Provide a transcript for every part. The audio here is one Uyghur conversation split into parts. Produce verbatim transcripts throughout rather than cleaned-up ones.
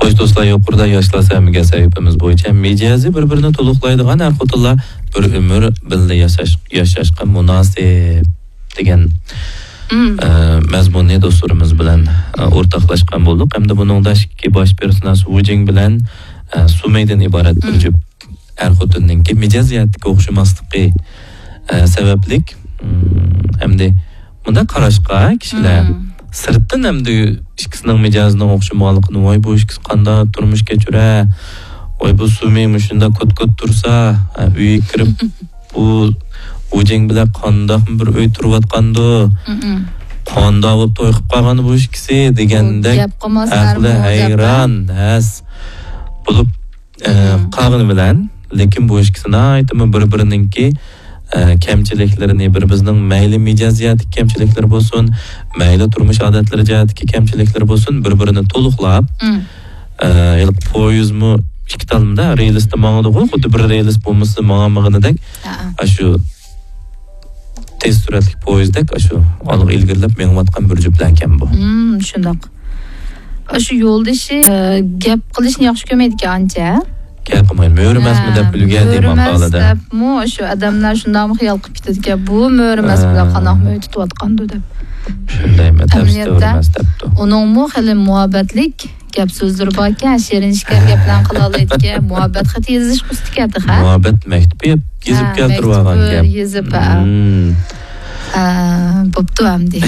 خوش دوستلار، يۇقىرىدا ياشلار سەمىگە سەھىپىمىز بويىچە مىجەزى بىر-بىرىنى تولۇقلايدىغان ئەر-خوتۇنلار بىر ئۆمۈر بىللە ياشاش، ياشاشقا مۇناسىپ دېگەن، مم. ئە، مەزمۇننى دوستلىرىمىز بىلەن، ئە، ئورتاقلاشقان بولدۇق. ھەمدە بۇنىڭدا ئىككى باش پېرسوناژ ۋۇجىڭ بىلەن، ئە، سۇمەيدىن ئىبارەت بىر مم. جۈپ ئەر-خوتۇننىڭكى مىجەز جەھەتتىكى ئوخشىماسلىقى، ئە، سەۋەبلىك، مم، ئەمدى مۇنداق قاراشقا كىشىلەر مم. سىرتتىن ئەمدى ئىككىسىنىڭ مىجەزىنىڭ ئوخشىمىغانلىقىنى، ۋاي، بۇ ئىككىسى قانداق تۇرمۇش كەچۈرە، ۋاي، بۇ سۇمى مۇشۇنداق كوت-كوت تۇرسا، ئە، ئۆيگە كىرىپ، بۇ ۋۇجىڭ بىلەن قانداقمۇ بىر ئۆي تۇرۇۋاتقاندۇ، مم. قانداق بولۇپ توي قىلىپ قالغان بۇ ئىككىسى دېگەندەك گەپ قىلماس ئەقلى ئەرمۇ ھەيران، ھەس بولۇپ، ئە، مم. قالغىنى بىلەن، لېكىن بۇ ئىككىسى ناھايىتىمۇ بىر-بىرىنىڭكى، ئە، كەمچىلىكلىرىنى، بىر-بىرىنىڭ مەيلى مىجەز جەھەتتىكى كەمچىلىكلىرى بولسۇن، مەيلى تۇرمۇش ئادەتلىرى جەھەتتىكى كەمچىلىكلىرى بولسۇن، بىر-بىرىنى تولۇقلاپ، مم. ئە، ھېلىقى پويىزمۇ ئىككى تالمىدا رېلىستا ماڭىدىغۇ، خۇددى بىر رېلىس بولمىسا ماڭالمىغىنىدەك، ھە. ئاشۇ تېز سۈرئەتلىك پويىزدەك ئاشۇ ئالغا ئىلگىرىلەپ مېڭىۋاتقان بىر جۈپلەركەن بۇ. مم، شۇنداق. ئاشۇ يولدىشى، ئە، گەپ قىلىشنى ياخشى كۆرمەيدىكەن ئانچە. گەپ قىلمايدۇ. مۆرىمەسمۇ دەپ ھە، ئۈلگەردى مۆرىمەس ماقالىدە. دەپمۇ ئاشۇ ئادەملەر شۇنداقمۇ خىيال قىلىپ كېتىدىكەن، بۇ مۆرىمەس ھە. بىلەن قانداقمۇ ئۆي تۇتۇۋاتقاندۇ دەپ. شۇندايمۇ، تەپسى ئەمەلىيەتتە مۆرىمەس دەپتۇ. ئۇنىڭمۇ خېلى مۇھەببەتلىك گەپ سۆزلىرى باركەن، شېرىن شېكەر گەپلەرنى قىلالايدىكەن، مۇھەببەت خېتى يېزىشقا ئۇستىكەن تېخى. مۇھەببەت مەكتۇبى يېزىپ ھە، كەلتۈرۈۋالغان مەكتۇب گەپ. يېزىپ، ھە. مم. ھە، بوپتۇ ئەمدى.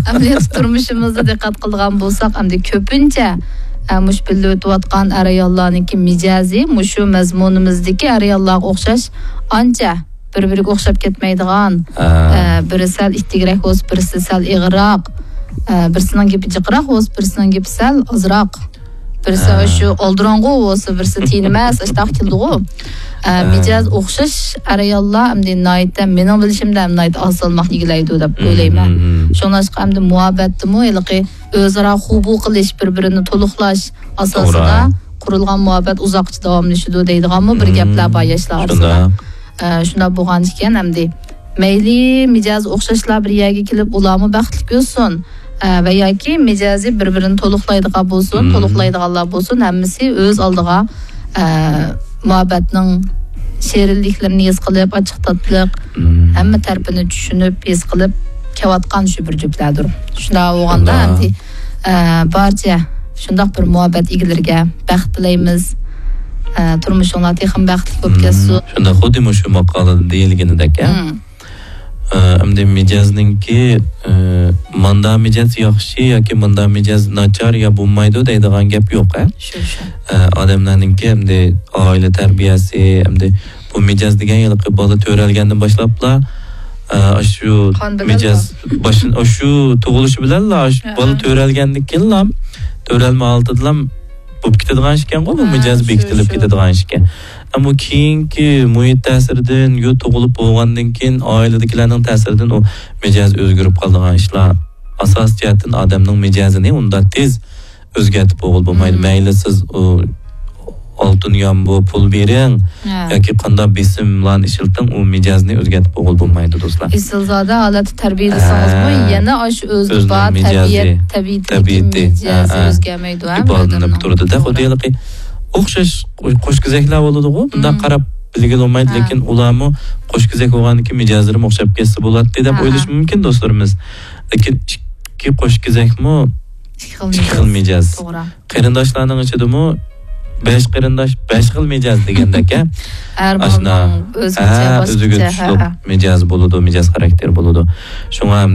ئەمەلىيەتتە تۇرمۇشىمىزدا دىققەت قىلىدىغان بولساق، ئەمدى كۆپىنچە، ھە، مۇشۇ بىللە ئۆتۈۋاتقان ئەر-ئاياللارنىڭكى مىجەزى مۇشۇ مەزمۇنىمىزدىكى ئەر-ئاياللارغا ئوخشاش ئانچە بىر-بىرىگە ئوخشاپ كەتمەيدىغان، ھە. ئە، بىرى سەل ئىتتىكرەك بولسا، بىرسى سەل ئېغىرراق، ئە، بىرسىنىڭ گېپى جىقراق بولسا، بىرسىنىڭ گېپى سەل ئازراق، بىرسى ھە. شۇ ئالدىراڭغۇ بولسا، بىرسى تىنىماس، ئاشتاق كېلىدىغۇ. ئە، ھە. مىجەز ئوخشاش ئەر-ئاياللار ئەمدى ناھايىتى، مېنىڭ بىلىشىمدە، ناھايىتى ئاز سالماقنى ئىگىلەيدۇ دەپ مم، ئويلايمەن. مم، مم. شۇڭلاشقا ئەمدى مۇھەببەتتىمۇ ھېلىقى ئۆزئارا خۇبۇ قىلىش، بىر-بىرىنى تولۇقلاش ئاساسىدا توغرا. قۇرۇلغان مۇھەببەت ئۇزاققىچە داۋاملىشىدۇ دەيدىغانمۇ بىر مم، گەپلەر بار ياشلار ئارىسىدا. شۇنداق. ئە، شۇنداق بولغان ئىكەن، ئەمدى مەيلى مىجەزى ئوخشاشلار بىر يەرگە كېلىپ، ئۇلارمۇ بەختلىك ئۆتسۇن، ئە، ۋە ياكى مىجەزى بىر-بىرىنى تولۇقلايدىغان بولسۇن، مم. تولۇقلايدىغانلار بولسۇن، ھەممىسى ئۆز ئالدىغا، ئە، مۇھەببەتنىڭ شېرىنلىكلىرىنى ھېس قىلىپ، ئاچچىق تاتلىق، مم. ھەممە تەرىپىنى چۈشىنىپ، ھېس قىلىپ كېلىۋاتقان شۇ بىر جۈپلەردۇر. شۇنداق بولغاندا شۇنداق. ئەمدى، ئە، بارچە شۇنداق بىر مۇھەببەت ئىگىلىرىگە بەخت تىلەيمىز. ئە، تۇرمۇشۇڭلار تېخىمۇ بەختلىك بولۇپ مم. كەتسۇن. شۇنداق، خۇددى مۇشۇ ماقالىدا دېيىلگىنىدەك، ھە؟ مم. ئە، ئەمدى مىجەزنىڭكى، ئە، ماندا مىجەز ياخشى ياكى ماندا مىجەز ناچار يا بولمايدۇ دەيدىغان گەپ يوق، ھە؟ شۇ، شۇ. ئە، ئادەملەرنىڭكى ئەمدى ئائىلە تەربىيەسى، ئەمدى بۇ مىجەز دېگەن ھېلىقى بالا تۆرەلگەندىن باشلاپلا، ئە، ئاشۇ قان بىلەن مىجەز بار. باشن-، ئاشۇ تۇغۇلۇشى بىلەنلا، ئاشۇ ھە. بالا تۆرەلگەندىن كېيىنلا، تۆرەلمە ھالىتىدىلا بولۇپ كېتىدىغان ئىشكەنغۇ، بۇ ھە، مىجەز شۇ، بېكىتىلىپ شۇ. كېتىدىغان ئىشكەن. ئەمما كېيىنكى مۇھىت تەسىرىدىن، يا تۇغۇلۇپ بولغاندىن كېيىن، ئائىلىدىكىلەرنىڭ تەسىرىدىن ئۇ مىجەز ئۆزگىرىپ قالىدىغان ئىشلار. ئاساسىي جەھەتتىن ئادەمنىڭ مىجەزىنى ئۇنداق تېز ئۆزگەرتىپ بولغىلى بولمايدۇ. مم. مەيلى سىز ئۇ ئالتۇن يامبۇ پۇل بېرىڭ ھە. ياكى قانداق بېسىملارنى ئىشلىتىڭ، ئۇ مىجەزنى ئۆزگەرتىپ بولغىلى بولمايدۇ، دوستلار. ئېسىلزادە ھالەتتە تەربىيەلىسىڭىزمۇ ھە. يەنە ئاشۇ ئۆزىدە ئۆزىنىڭ بار مىجەزى، تەبىئەت، تەبىئىتىدىكى تەبىئىتى، مىجەزى ھە، ھە. ئۆزگەرمەيدۇ، ھە، ئىپادىلىنىپ بىر ئادەمنىڭ. تۇرىدۇ-دە، توغرا. خۇددى ھېلىقى ئوخشاش قوش-، قوشكېزەكلەر بولىدىغۇ، بۇنداق مم. قاراپ بىلگىلى بولمايدۇ، ھە. لېكىن ئۇلارمۇ قوشكېزەك بولغاندىكىن مىجەزلىرىمۇ ئوخشاپ كەتسە بولاتتى دەپ ھە، ھە. ئويلىشى مۇمكىن، دوستلىرىمىز. لېكىن ئىككى قوشكېزەكمۇ ئىككى خىل ئىككى خىل مىجەز. مىجەز. توغرا. قېرىنداشلارنىڭ ئىچىدىمۇ بەش قېرىنداش، بەش خىل مىجەز دېگەندەك، ھە؟ ھەر ئاشۇنداق. بالىنىڭ ئۆزگىچە، ھە، باشقىچە، ئۆزىگە تۇشلۇق ھە، ھە. مىجەز بولىدۇ، مىجەز خاراكتېر بولىدۇ. شۇڭا